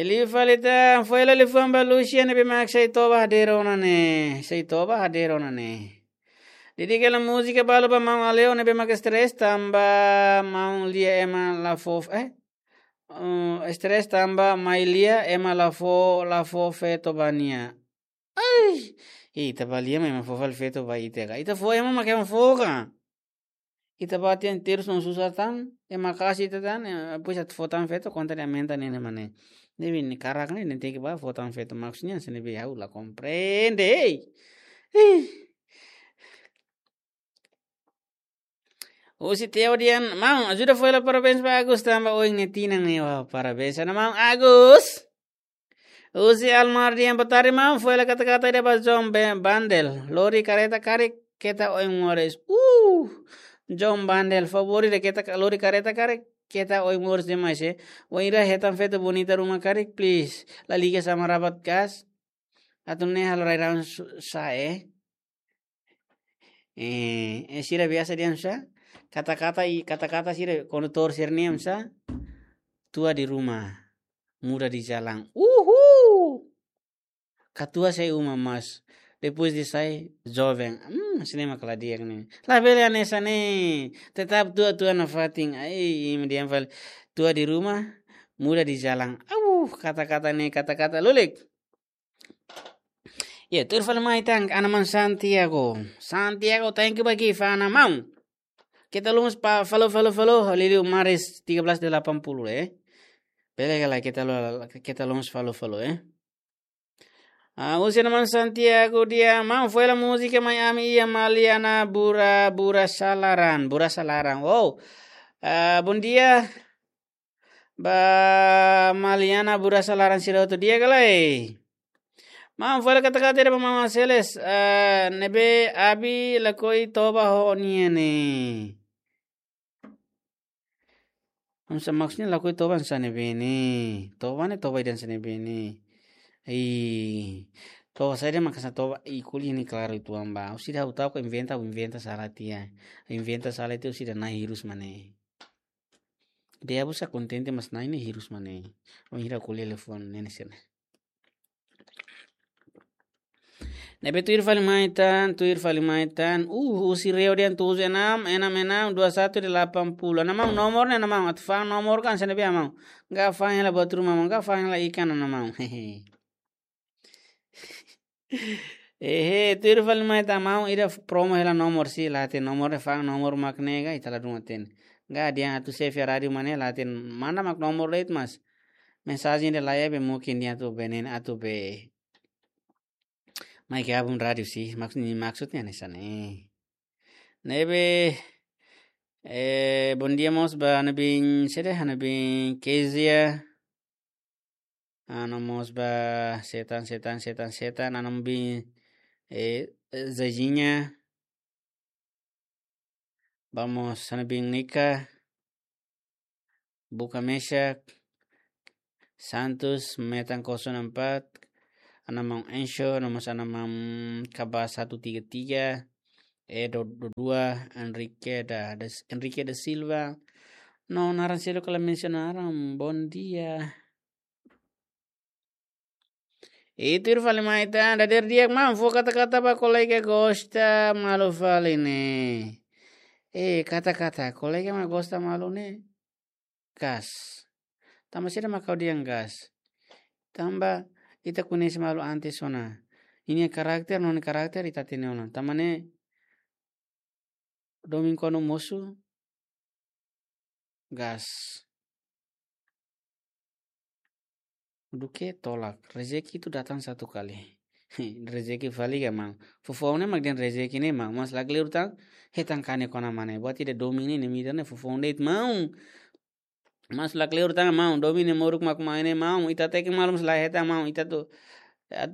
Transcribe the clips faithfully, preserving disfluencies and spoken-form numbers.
Liu fali tan, foin hela liafuan ba Lucia ne'ebé mak sai toba hadeer ona ne'e. Sai toba hadeer ona ne'e. Dedika hela múzika balu ba maun Aleu ne'ebé mak stress tanba maun Lia ema la fó, eh? Uh, stress tanba mai Lia ema la fó, la fó feto ba nia. Ai, ita bá Lia ema fó fali feto ba ita ka. Ita fó ema mak ema fó ka. Ita bá tiha terus no susar tan, ema kasi ita tan, eh, depois atu fó tan feto, konta de'it aumenta ne'e mak ne'e. Ne'ebé nia karak ne'e, nia tenke bá fó tan feto, maksudnya hanesan ne'ebé ha'u la komprende, ei. Ih. Husi Teo dehan, maun, ajuda foin hela parabéns ba Agus tanba ohin nia tinan ne'e, wah, parabéns ona maun Agus. Husi Almar dehan, boa tarde maun, foin hela kata-kata ida ba John Be-, Bandel. Lori kareta karik, keta oin moris. Uh! John Bandel, favór ida keta ka-, lori kareta karik, keta oin moris demais, eh. Wainhira hetan feto bonita ruma karik, please. La liga sama rabat gas. Atu ne'e halo rai-rahun su-, sa'e, eh. Eh, eh, sira biasa dehan sá? Kata-kata i, kata-kata sira kondutór sira-nian sá? Tua di rumah, muda di jalan. Uhul! Katuas sai uma mas, depois de sai joven. Hmm, hanesan ne'e mak la di'ak ne'e. Labele hanesan ne'e. Tetap tua-tua nafatin. Ai, imi dehan fali. Tua di rumah, muda di jalan. Au, kata-kata ne'e, kata-kata lulik. Ya, tuir fali mai tan, Ana Maun Santiago. Santiago, thank you ba gift, Ana Maun. Keta loos pa follow, follow, follow, liuliu Maris tiga belas delapan puluh, eh. Bele ka lae, keta lo-, keta loos follow, follow, eh. Ah, husi Ana Maun Santiago dehan, maun, foin hela múzika mai ami iha Maliana Bura, Bura Salaran, Bura Salaran. Wow. Ah, bom dia. Ba Maliana Bura Salaran sira hotu di'ak ka lae. Maun, foin hela kata-kata ida ba Mama Seles, eh, ne'ebé Abi lakohi toba ho nia ne'e. Hanesan maksudnya lakohi toba hanesan ne'ebé ne'e. Toba ne'e toba ida hanesan ne'ebé ne'e. Ai, toba saida maka hanesan toba, i kuliah ne'e klaru uitoan ba. Husi ida ha'u ta'uk ka inventa, ha'u inventa sala tiha. Inventa sala tiha husi ida Nai hirus mak ne'e. Dehan busa kontente mas Nai ne'e hirus mak ne'e. Wainhira ko'alia liafuan ne'e hanesan ne'e. Ne'ebé tuir fali mai tan, tuir fali mai tan. Uh, husi Reo dehan tujuh enam, enam enam, dua satu delapan puluh. Ana Maun, nomor ne'e Ana Maun, atu fa'an nomor ka hanesan ne'ebé Ana Maun? Ga fa'an hela buat ruma maun, ga fa'an hela ikan Ana Maun. Hehe. Ehe, tuir fali mai tan maun, ida promo hela nomor sira, la hatene nomor ne'e, fa'an nomor mak ne'e ka, ita ladún hatene. Ga dehan atu save iha rádiu mak ne'e, la hatene mana mak nomor de'it mas. Mensajen ida laiha be mungkin dehan atu benen atu be. Mai ke abun rádiu sira, maksud, maksudnya hanesan ne'e. Ne'ebé, eh, bom dia mós ba Ana Bin, sede Ana Bin Kezia. Ana mós ba setan, setan, setan, setan, Ana Bin, eh, Zezinha. Ba mós Ana Bin Nika, Buka Meshak, Santos, Metan kosong empat, Ana Maun Ensho, Ana mós Ana Maun Kaba satu tiga tiga, Edo dua dua, Enrique da, da, Enrique da Silva. No, naran seluk la mensionaram. Bom dia. Ita tuir fali mai tan, dadeer di'ak maun, fó kata-kata ba kolega gosta malu fali ne'e. Eh, kata-kata, kolega mak gosta malu ne'e. Gas. Tanba saida mak ha'u dehan gas? Tanba ita koñese malu antes ona. Ninia karakter, no nia karakter ita hatene ona. Tanba ne'e domin kuandu mosu, gas. Duké tolak, rezeki itu datang satu kali. Rezeki fali ka maun. Foufoun ne'e mak dehan rezeki ne'e maun. Mas lakleur tan, hetan kanek ona mak ne'e. Buat ida domin ne'e, ne'e mak ita ne'e foufoun de'it maun. Mas lakleur tan maun, domin ne'e moruk mak mai ne'e maun. Ita tenik malu mas la hetan maun. Ita atu,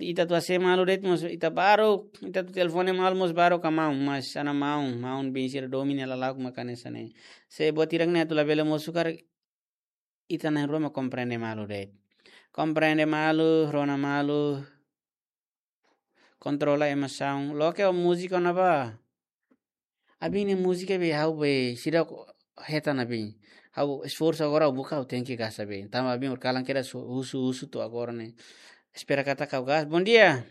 ita atu hasai malu de'it mas ita baruk. Ita atu telefone malu mas baruk ka maun. Mas Ana Maun, maun bin sira domin ne'e lala'ok mak hanesan ne'e. Se buat hirak ne'e atu labele mosu karik, ita na'in-rua mak komprende malu de'it. Komprende malu, rona malu, kontrola emosaun. Loke o múzika ona ba. Abin nia múzika be ha'u be seidauk hetan abin. Ha'u esforsu agora, ha'u buka, ha'u tenke gasta be. Tanba bin kalan kedas husu, husu to'o agora ne'e. Espera katak ha'u gasta. Bom dia.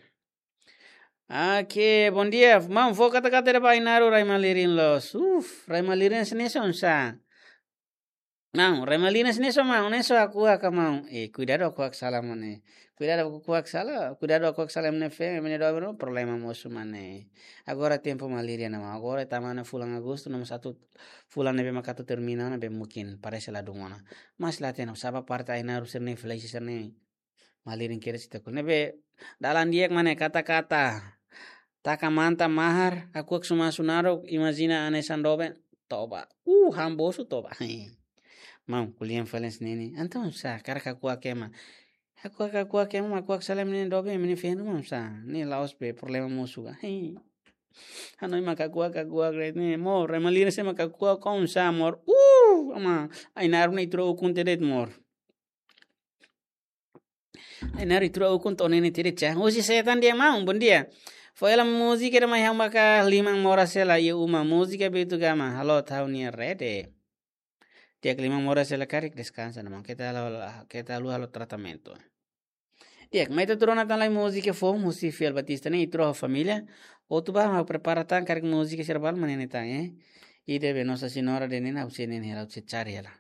Oke, bom dia. Maun, fó katak katak de'it ba Ainaro rai malirin loos. Uf, rai malirin sini son sa. Maun, rai malirin sini son maun, ne'e só hakuak ka maun. Eh, kuidadu hakuak sala mane. Kuidadu hakuak sala, kuidadu hakuak sala mane fe, mane doben problema mosu mane. Agora tempu malirin ona maun. Agora tama ona fulan Agostu, no mós atu fulan ne'ebé mak atu termina ona be mungkin parese ladún ona. Mas la hatene, sá ba parte Ainaro sira-ne'e, fleisi sira-ne'e. Malirin kedas ita ku. Ne'ebé, dalan di'ak mane katak katak. Taka manta mahar, hakuak sumasu naruk, imajina hanesan doben, toba. Uh, han bosu toba. Maun, ko'alia fali hanesan ne'e. Entaun sá, hakarak hakuak ema. Hakuak, hakuak ema, hakuak sala mane doben, mane fendu maun sá. Ne'e la'ós be problema mosu ka. Hanoin mak hakuak, hakuak ne'e, mor, rai malirin sé mak hakuak kon sá, mor. Uh, ama, Ainaro ne'e tura ukun tiha de'it, mor. Ainaro tura ukun to'o ne'e tiha de'it. Husi Setan dia maun, bom dia. Fó hela múzika ida mai ha'u maka liman moras hela iha uma, múzika Beto Gama, halo tau nia rede. Di'ak, liman moras hela karik deskansa ona maun. Keta halo, keta haluha halo tratamentu. Di'ak, mai ita atu rona tan lai múzika foun husi Fiel Batista ne'e, ita rona família. Hotu ba ha'u prepara tan karik múzika sira balu mak ne'e tan, eh. Ida be Nossa Senhora de Nina, ha'u sei ne'e hela, ha'u sei cari hela.